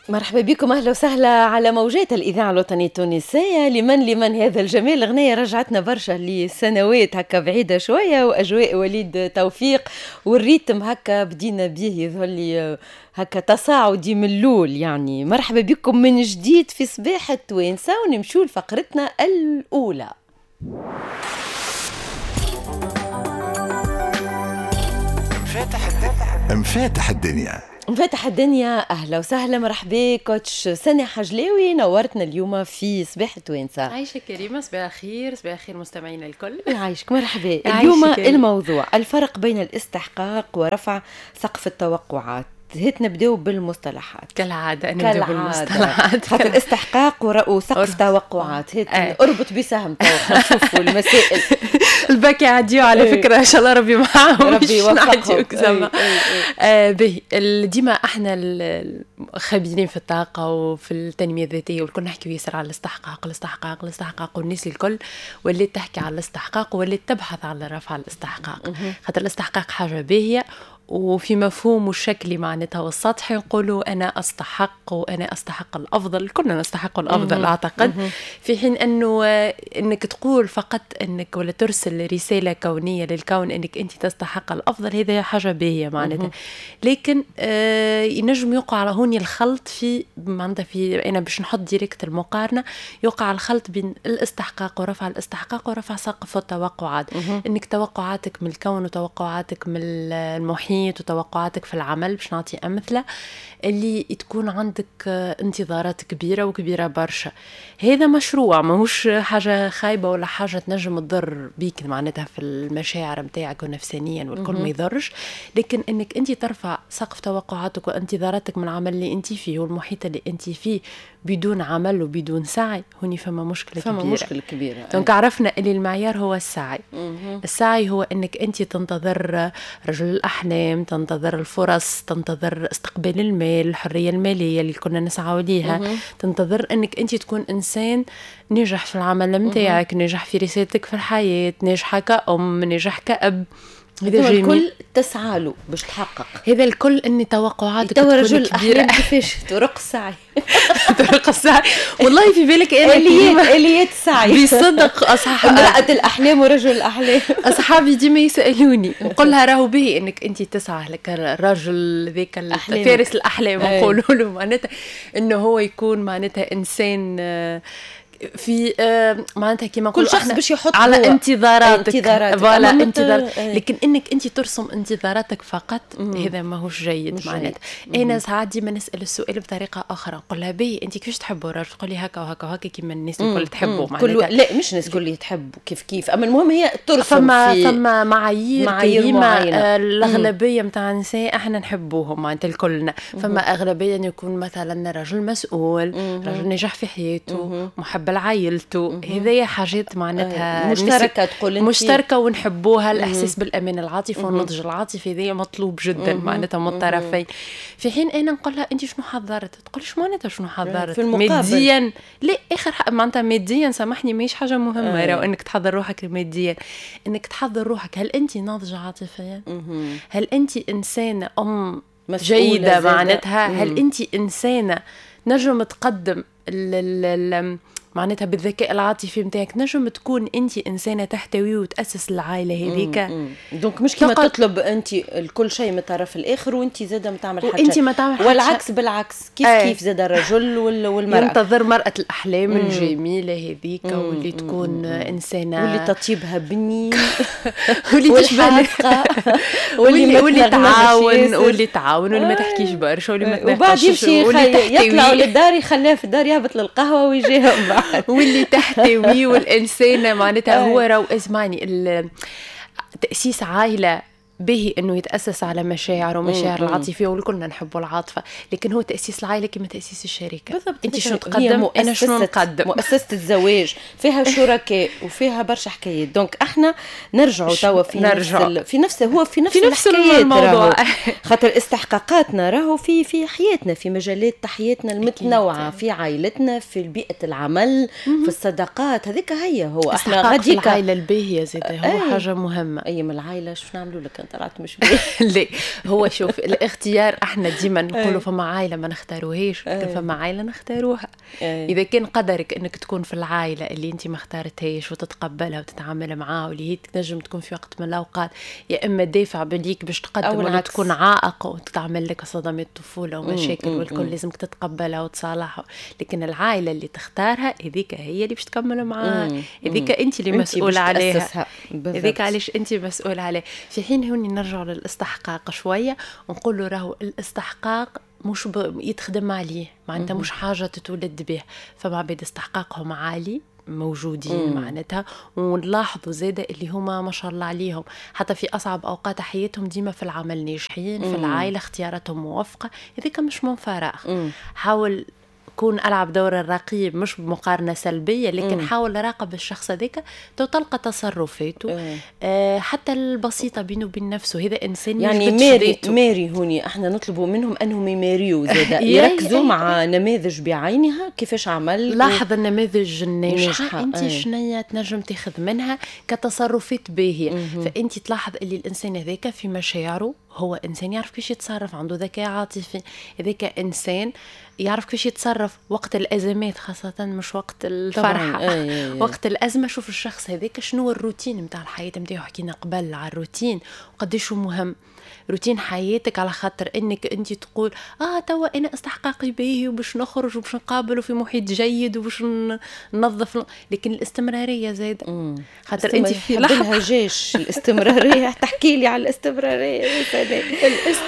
مرحبا بكم، اهلا وسهلا على موجات الاذاعة الوطنية التونسية. لمن هذا الجمال؟ الاغنية رجعتنا برشا لسنوات هكا بعيدة شوية، واجواء وليد توفيق وال rythme هكا بدينا به يظهر لي هكا تصاعدي من اللول. يعني مرحبا بكم من جديد في صباح التوانسة، ونمشوا لفقرتنا الاولى. مفاتح الدنيا. مفاتح الدنيا، اهلا وسهلا، مرحبا coach سنة حجلاوي، نورتنا اليوم في صباح التوانسة. عايشك كريمة، صباح الخير، صباح الخير مستمعينا الكل. يعيشك، مرحبا. اليوم الموضوع الفرق بين الاستحقاق ورفع سقف التوقعات. هات نبداو بالمصطلحات. كالعادة نبداو بالمصطلحات، خاطر استحقاق وسقف توقعات. هات اربط بسهم تو نشوفوا المسائل. الباكي عديو على فكرة، ان شاء الله ربي معاهم، ربي يوفقهم. باهي، ديما احنا الخبيرين في الطاقة وفي التنمية الذاتية والكل نحكيو ياسر على الاستحقاق الاستحقاق الاستحقاق، والناس الكل ولات تحكي على الاستحقاق ولات تبحث على رفع الاستحقاق، خاطر الاستحقاق حاجة باهية وفي مفهومه الشكلي معناتها والسطحي نقولوا أنا أستحق وأنا أستحق الأفضل، كلنا نستحق الأفضل أعتقد. في حين أنه أنك تقول فقط أنك ولا ترسل رسالة كونية للكون أنك أنت تستحق الأفضل، هذا حاجة باهية معناتها. لكن ينجم يقع على هوني الخلط في معناتها، في أنا باش نحط direct المقارنة، يقع الخلط بين الاستحقاق ورفع الاستحقاق ورفع سقف التوقعات. أنك توقعاتك من الكون وتوقعاتك من المحيط وتوقعاتك في العمل، باش نعطي أمثلة، اللي تكون عندك انتظارات كبيرة وكبيرة برشا. هذا مشروع ماهوش حاجة خايبة ولا حاجة تنجم تضر بيك معناتها في المشاعر متاعك ونفسانيا والكل ما يضرش، لكن انك انت ترفع سقف توقعاتك وانتظاراتك من العمل اللي انت فيه والمحيط اللي انت فيه بدون عمل وبدون سعي، هوني فما مشكلة كبيرة. فما مشكلة كبيرة. donc عرفنا اللي المعيار هو السعي. السعي هو انك انت تنتظر رجل الاحلام، تنتظر الفرص، تنتظر استقبال المال، الحرية المالية اللي كنا نسعى ليها، تنتظر انك انت تكون انسان ناجح في العمل نتاعك، ناجح في رسالتك في الحياة، ناجحة كأم، ناجح كأب. هذا الكل تسعى له باش تحقق. هذا الكل ان توقعاتك تكون رجل الأحلام كيفاش طرق السعي. طرق السعي، والله في بالك انا اليات السعي بصدق. اصحاب امرأة الاحلام ورجل الاحلام، اصحابي ديما يسالوني نقول لها راهو به انك انت تسعى لك الرجل ذاك فارس الاحلام، نقولوا له معناتها انه هو يكون معناتها انسان في معناتها كيما كل شخص باش يحط على انتظاراتك، voilà انتظار. لكن انك انت ترسم انتظاراتك فقط هذا ماهوش جيد معناتها. انا ساعات ديما نسال السؤال بطريقة اخرى، نقول لها باهي انت كيفاش تحبوا الرجل؟ تقول لي هكا وهكا وهكا كيما الناس الكل تحبوا معناتها. لا مش الناس الكل تحبوا كيف كيف، اما المهم هي ترسم فما معايير كريمة. الاغلبية نتاع النساء احنا نحبوهم معناتها الكلنا. فما اغلبية انه يكون مثلا رجل مسؤول، رجل ناجح في حياته، محب لعائلته، هذه حاجات معناتها مشتركة، تقول انت مشتركة ونحبوها. الاحساس بالامان العاطفي والنضج العاطفي هذا مطلوب جدا معناتها من الطرفين. في حين انا نقول لها انت شنو حضرت؟ تقول شو معناتها شنو حضرت؟ ماديا لا، اخر معناتها ماديا سامحني ماهيش حاجة مهمة راهو انك تحضر روحك ماديا، انك تحضر روحك هل انت ناضجة عاطفيا؟ هل انت انسانه ام جيدة معناتها؟ هل انت انسانه نجم تقدم معناتها بالذكاء العاطفي نتاعك، نجم تكون انت انسانه تحتوي وتاسس العائلة هذيك. donc مش كيما تطلب انت الكل شيء من الطرف الاخر وانت زاده ما تعمل حاجة، وانت ما تعمل حاجة، والعكس بالعكس. كيف كيف زاد الرجل والمراة ينتظر مرأة الاحلام الجميلة هذيك واللي تكون انسانه واللي تطيبها بني واللي تشبه واللي تعاون واللي تعاون واللي ما تحكيش برشا واللي ما تناقش، وبعد يمشي يطلع للدار يخليها في الدار، يهبط للقهوة ويجيها واللي تحتوي والإنسانة معناتها هو راهو اسمعني، تأسيس عائلة به انه يتاسس على مشاعر ومشاعر العاطفية والكلنا نحبوا العاطفة، لكن هو تاسيس العائلة كما تاسيس الشركة. بالضبط، انت شنو تقدم انا شنو نقدم. مؤسسة الزواج فيها شركاء وفيها برشا حكايات. donc احنا نرجعوا توا في نفس هو في نفس الموضوع، خاطر استحقاقاتنا راهو في حياتنا، في مجالات حياتنا المتنوعة، في عائلتنا، في بيئة العمل، في الصداقات. هذيك هي هو احنا غاديك العائلة الباهيه زاد هو حاجة مهمة. اي من العائلة شو نعملوا لك كان طلعت مش باهي. لا هو شوف الاختيار، احنا ديما نقولوا فما عائلة ما نختاروهاش، لكن فما عائلة نختاروها. اذا كان قدرك انك تكون في العائلة اللي انت ما اختارتهاش وتتقبلها وتتعامل معاها، واللي هي تنجم تكون في وقت من الاوقات يا اما دافع بليك باش تقدم، ولا تكون عائق وتتعمل لك صدمات طفولة ومشاكل والكل لازمك تتقبلها وتصالحها. لكن العائلة اللي تختارها هذيك هي اللي باش تكمل معاها، هذيك انت اللي مسؤولة عليها، هذيك علاش انت مسؤولة عليها. في حين هوني نرجع للاستحقاق شوية ونقول راهو الاستحقاق مش يتخدم عليه، معناتها مش حاجة تتولد به. فما عباد استحقاقهم عالي موجودين معناتها، ونلاحظوا زاده اللي هما ما شاء الله عليهم حتى في اصعب اوقات حياتهم ديما في العمل ناجحين، في العائلة اختياراتهم موفقة. هذيك مش من فراغ. حاول كون ألعب دور الرقيب، مش بمقارنة سلبية، لكن حاول راقب الشخص هذاك تلقى تصرفاته حتى البسيطة بينه وبين نفسه. هذا إنسان يعني ماري هوني احنا نطلبوا منهم أنهم يماريوا زادا، يركزوا مع نماذج بعينها كيفاش عمل. لاحظ النماذج الناجحة أنت شنية تنجم تاخذ منها كتصرفات باهية. فأنت تلاحظ اللي الإنسان هذاك في مشاعره هو إنسان يعرف كيفاش يتصرف، عنده ذكاء عاطفي، هذاك إنسان يعرف كيفاش يتصرف وقت الأزمات خاصة، مش وقت الفرحة. وقت الأزمة شوف الشخص هذاك شنو الروتين متاع الحياة متاعو. حكينا قبل على الروتين وقديش مهم روتين حياتك، على خاطر انك انت تقول توا انا استحقاقي باهي وباش نخرج وباش نقابل في محيط جيد وباش ننظف، لكن الاستمرارية زاد خاطر انت في لحظة جيش الاستمرارية. تحكي لي على الاستمرارية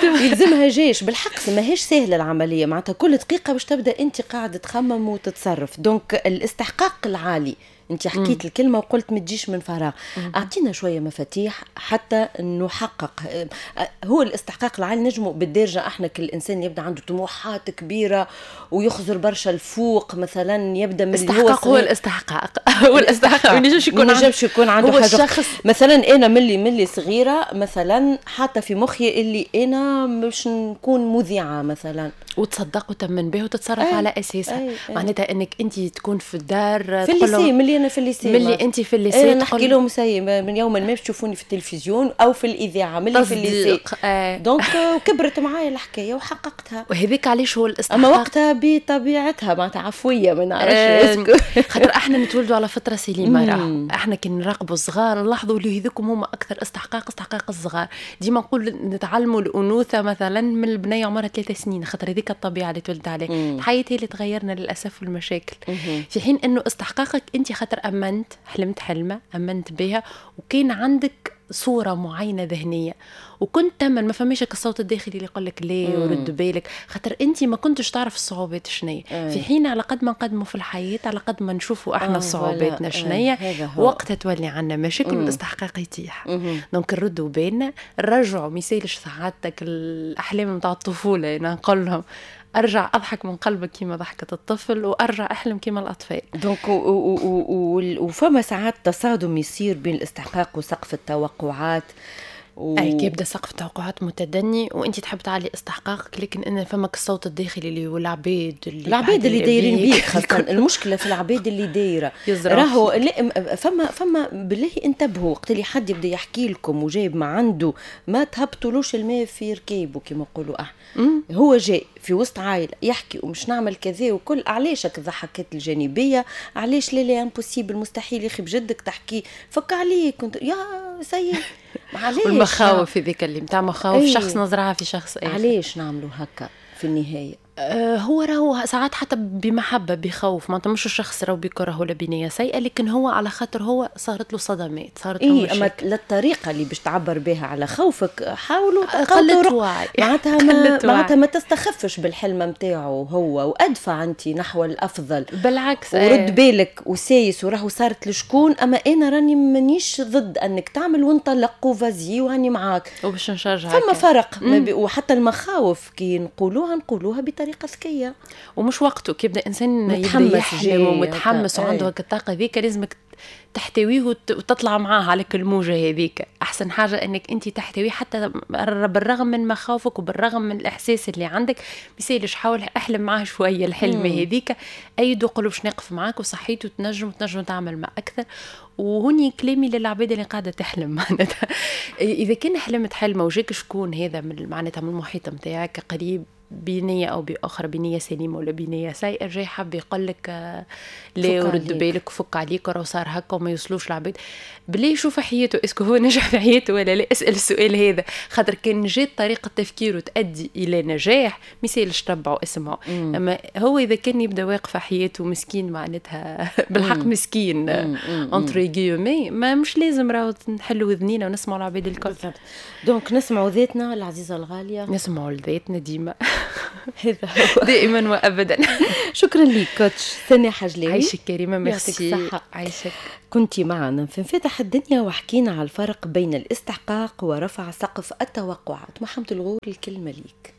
يلزمها جيش بالحق، ماهيش سهلة العملية، معناتها كل دقيقة باش تبدا انت قاعدة تخمم وتتصرف. donc الاستحقاق العالي انت حكيت الكلمة وقلت ما تجيش من فراغ. اعطينا شوية مفاتيح حتى نحقق هو الاستحقاق العالي. نجمو بالدارجة احنا كل انسان يبدا عنده طموحات كبيرة ويخزر برشا الفوق مثلا، يبدا من الاستحقاق هو الاستحقاق هو الاستحقاق ما ينجمش يكون عنده حاجة الشخص. مثلا انا ملي صغيرة مثلا حاطه في مخي اللي انا باش نكون مذيعه مثلا، وتصدق وتمن به وتتصرف على اساسها. معناتها انك انت تكون في الدار في ال lycée، ملي انا في ال lycée، ملي انت في ال lycée نحكي لهم سي من يوم ما باش تشوفوني في التلفزيون او في الاذاعة ملي في ال lycée. donc كبرت معايا الحكاية وحققتها، وهذيك علاش هو الاستحقاق. اما وقتها بطبيعتها معناتها عفوية ما نعرفش خاطر احنا نتولدوا على فطره سليمة. راه احنا كي نراقبوا الصغار نلاحظوا اللي هذوكم هما اكثر استحقاق الصغار. ديما نقول نتعلموا الانوثة مثلا من البنية عمرها 3 سنين، خاطر هذيك الطبيعة اللي تولد عليه. الحياة هي اللي تغيرنا للاسف والمشاكل. في حين انه استحقاقك انت خاطر امنت، حلمت حلمه امنت بها وكان عندك صوره معينة ذهنية وكنت تمن، ما فماش الصوت الداخلي اللي يقول لك ليه ورد بالك، خاطر انت ما كنتش تعرف الصعوبات شنية. في حين على قد ما نقدموا في الحياة على قد ما نشوفوا احنا صعوباتنا شنية، وقتها تولي عندنا مشاكل والاستحقاق يتيح. donc نردوا بالنا، نرجعوا ما يسالش سعادتك الاحلام نتاع الطفولة. انا نقول لهم ارجع اضحك من قلبك كيما ضحكه الطفل، وارجع احلم كيما الاطفال. donc وفما ساعات تصادم يصير بين الاستحقاق وسقف التوقعات. اي كي يبدا سقف التوقعات متدني وانت تحب تعلي استحقاقك، لكن ان فمك الصوت الداخلي اللي هو العباد اللي دايرين بيك خاصة. المشكلة في العباد اللي دايرة راهو فما بالله انتبهوا وقت اللي حد يبدا يحكي لكم وجايب ما عنده، ما تهبطولوش الماء في ركيبه كما نقولوا احنا. هو جاي في وسط عائلة يحكي ومش نعمل كذا وكل، علاش الضحكات الجانبية؟ علاش لا لا impossible مستحيل يا اخي بجدك تحكي، فك عليك كنت يا سيد. علاش والمخاوف هذيك اللي نتاع مخاوف شخص نزرعها في شخص اخر؟ علاش نعملوا هكا في النهاية؟ هو راهو ساعات حتى بمحبة بخوف، معناتها مش الشخص راهو بكره ولا بنيه سيئه، لكن هو على خاطر هو صارت له صدمات، صارت له مشاكل. اما للطريقة اللي باش تعبر بها على خوفك حاولوا قلة وعي، معناتها معناتها ما تستخفش بالحلم نتاعو هو، وادفع انت نحو الافضل بالعكس. ورد بالك وسايس وراهو صارت لشكون، اما انا راني مانيش ضد انك تعمل وانطلق و vas-y وهاني معاك وباش نشجعك. فما فرق وحتى المخاوف كي نقولوها نقولوها بطريقة ذكية ومش وقته. كي يبدا انسان يبدا يحلم ومتحمس وعنده هكا الطاقة ذيك لازمك تحتويه وتطلع معاه على كل موجه هذيك. احسن حاجة انك انت تحتويه حتى بالرغم من مخاوفك وبالرغم من الاحساس اللي عندك، ميسالش حاول احلم معاه شوية الحلم هذيك، ايد وقول باش نقف معاك وصحيت وتنجم تعمل ما اكثر. وهوني كلامي للعباد اللي قاعدة تحلم، معناتها اذا كان حلمت حلمه وجاك شكون هذا من معناتها من المحيط نتاعك قريب، بنية أو بأخرى، بنية سليمة ولا بنية سيئة، جاي حاب يقول لك لا ورد بالك وفك عليك وراه صار هكا وما يوصلوش العباد، بالله يشوف حياته est-ce que هو نجح في حياته ولا لا. اسأل السؤال هذا، خاطر كان جات طريقة تفكيره تؤدي إلى نجاح ما يسالش تبعه اسمعه. أما هو إذا كان يبدا واقف في حياته مسكين، معناتها بالحق مسكين entre guillemets، ما مش لازم راهو نحلوا وذنينا ونسمعوا العباد الكل. بالضبط، donc نسمعوا ذاتنا العزيزة الغالية، نسمعوا لذاتنا ديما، هذا هو دائما وابدا. شكرا لك coach سناء حجلاوي. عايشك كريمه، ميرسي. عايشك. كنت معنا في انفتح الدنيا وحكينا على الفرق بين الاستحقاق ورفع سقف التوقعات. محمد الغول، الكلمة ليك.